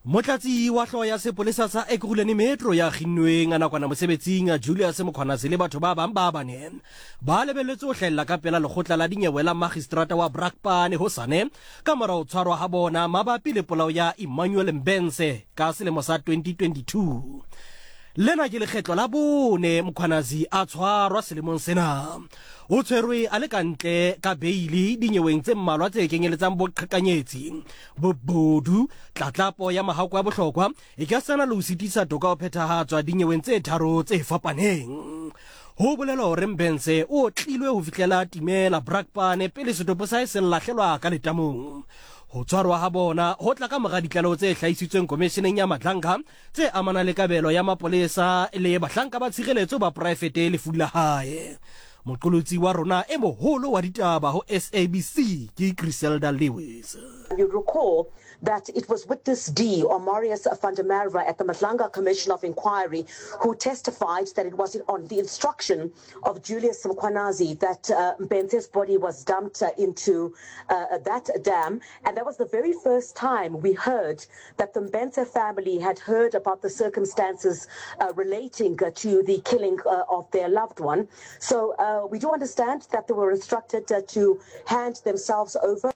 Motlatsi wa hloho ya sepolesa sa Ekurhuleni Metro ya kginnweng nakwana mosebetsing Julius Mkhwanazi le batho ba bang ba bane ba lebelletswe ho hlahella ka pela lekgotla la dinyewe la magistrata wa Brakpan hosane ka mora ho tshwarwa ha bona mabapi le polao ya Emmanuel Mbense ka selemo sa 2022. Lena ke lekgetlo la bone Mkhwanazi a tshwarwa selemong sena. O tshwerwe a le ka ntle ka beili dinyeweng tse mmalwa tse kenyeletsang boqhekanyetsi, bobodu, tlatlapo ya mahako a bohlokwa, e ka sana le ho sitisa toka ho phethahatswa dinyeweng tse tharo tse fapaneng. Ho bolelwa hore Mbense o otlilwe ho fihlela a timela Brakpan pele setopo sa hae se lahlelwa ka letamong. Ho tshwarwa ha bona ho tla ka mora ditlaleho tse hlahisitsweng Komisheneng ya Madlanga tse amanang le kabelo ya mapolesa le bahlanka ba tshireletso ba poraefete lefung la hae. Moqolotsi wa rona e moholo wa ditaba ho SABC ke Griselda Lewis. You recall that it was witness D, or Marius van der Merwe, at the Madlanga Commission of Inquiry who testified that it was on the instruction of Julius Mkhwanazi that Mbense's body was dumped into that dam. And that was the very first time we heard that the Mbense family had heard about the circumstances relating to the killing of their loved one. So we do understand that they were instructed to hand themselves over.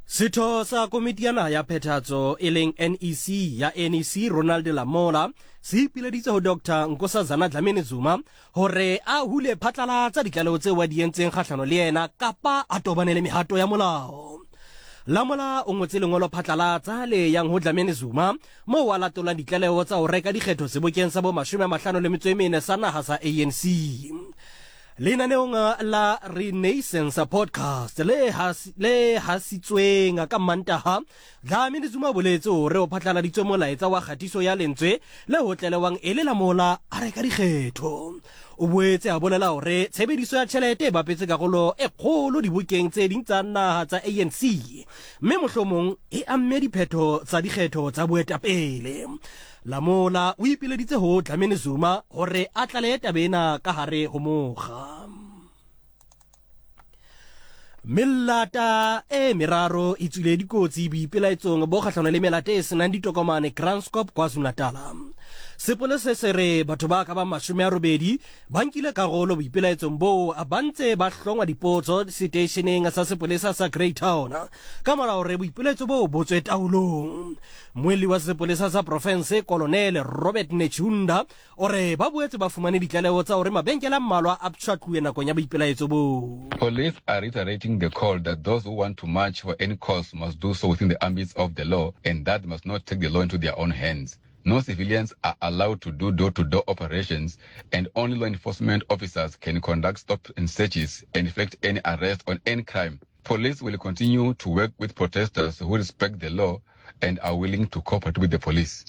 Setho sa komiti ya naha ya phethahatso e leng NEC ya NEC Ronald Lamola se ipileditse ho Dr Nkosazana Dlamini Zuma hore a hule phatlalatsa ditlaleho tseo a di entseng kgahlano le yena kapa a tobane le mehato ya molao. Lamola o ngotse lengolo phatlalatsa le yang ho Dlamini Zuma moo a latolang ditlaleho tsa ho reka dikgetho sebokeng sa bo 54 sa naha sa ANC. Lenaneong la Renaissance Podcast le le hasitsweng ka Mantaha, Dlamini Zuma o boletse hore o phatlaladitswe molaetsa wa kgatiso ya lentswe le ho tlelewang e le la mola a reka dikgetho. O boetse a bolela hore tshebediso ya tjhelete e bapetse karolo e kgolo dibokeng tse ding tsa naha tsa ANC mme mohlomong e amme diphetho tsa dikgetho tsa boetapele. Lamola o ipileditse ho Dlamini Zuma hore a tlalehe taba ena ka hare ho mokga. Melata e meraro e tswile dikotsi boipelaetsong bo kgahlano le melata e senang ditokomane Kranskop KwaZulu-Natal. Sepolesa se re batho ba ka bang 80 ba nkile karolo boipelaetsong boo ba ntse ba hlongwa dipotso seteisheneng sa sepolesa sa Greytown ka mora hore boipelaetso boo bo tswe taolong. Mmuelli wa sepolesa sa profense Kolonele Robert Netshiunda o re ba boetse ba fumane ditlaleho tsa hore mabenkele a mmalwa a pshatluwe nakong ya boipelaetso boo. Police are reiterating the call that those who want to march for any cause must do so within the ambits of the law and that they must not take the law into their own hands. No civilians are allowed to do door-to-door operations and only law enforcement officers can conduct stop and searches and effect any arrest on any crime. Police will continue to work with protesters who respect the law and are willing to cooperate with the police.